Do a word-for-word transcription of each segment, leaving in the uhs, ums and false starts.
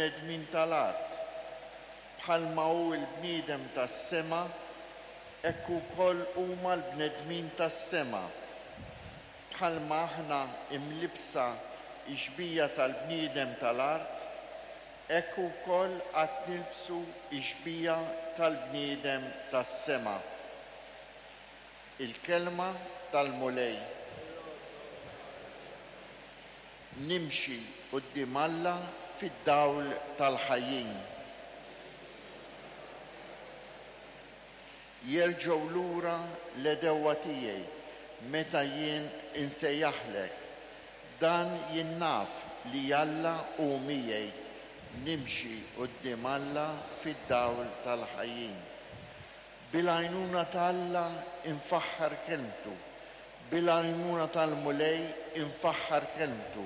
il-bnedmin tal-art. Bħalma hu l-bniedem tas-sema, hekk ukoll huma l-bnedmin tas-sema. Bħalma aħna imlibsa x-xbieha tal-bniedem tal-art, hekk ukoll għad nilbsu x-xbieha tal-bniedem tas-sema. Il-kelma tal-Mulej. Nimxi quddiem Alla fid-dawl tal-ħajjin. Jerġgħu lura l-għedewwa tiegħi meta jien insejjaħlek. Dan jien naf li Alla hu miegħi. Nimxi quddiem Alla fid-dawl tal-ħajjin. Bil-għajnuna ta' Alla infaħħar kelmtu, bil-għajnuna tal-Mulej infaħħar kelmtu.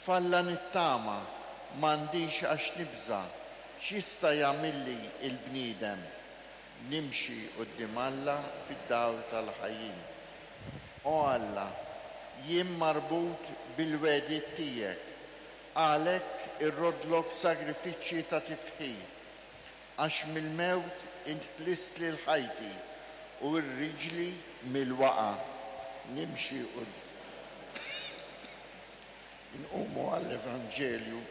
F'Alla nittama, m'għandix għax nibża', x'jista' jagħmilli l-bniedem? Nimxi quddiem Alla fid-dawl tal-ħajjin. O Alla, jien marbut bil-wegħdiet tiegħek, għalhekk irrodlok sagrifiċċji ta' tifħir, għax mill-mewt int ħlist lil ħajti u r-riġli mill-waqa'. Nimxi u nqumu għall-Evanġelju.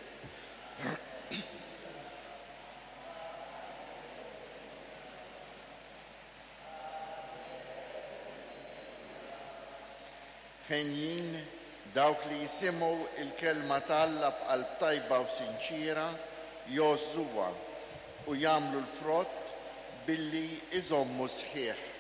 Ħenjin dawk li jisimgħu il-kelma ta' Alla b'qalb tajba u sinċiera, jgħożżuha u jagħmlu l-frott billi iżommu sħiħ.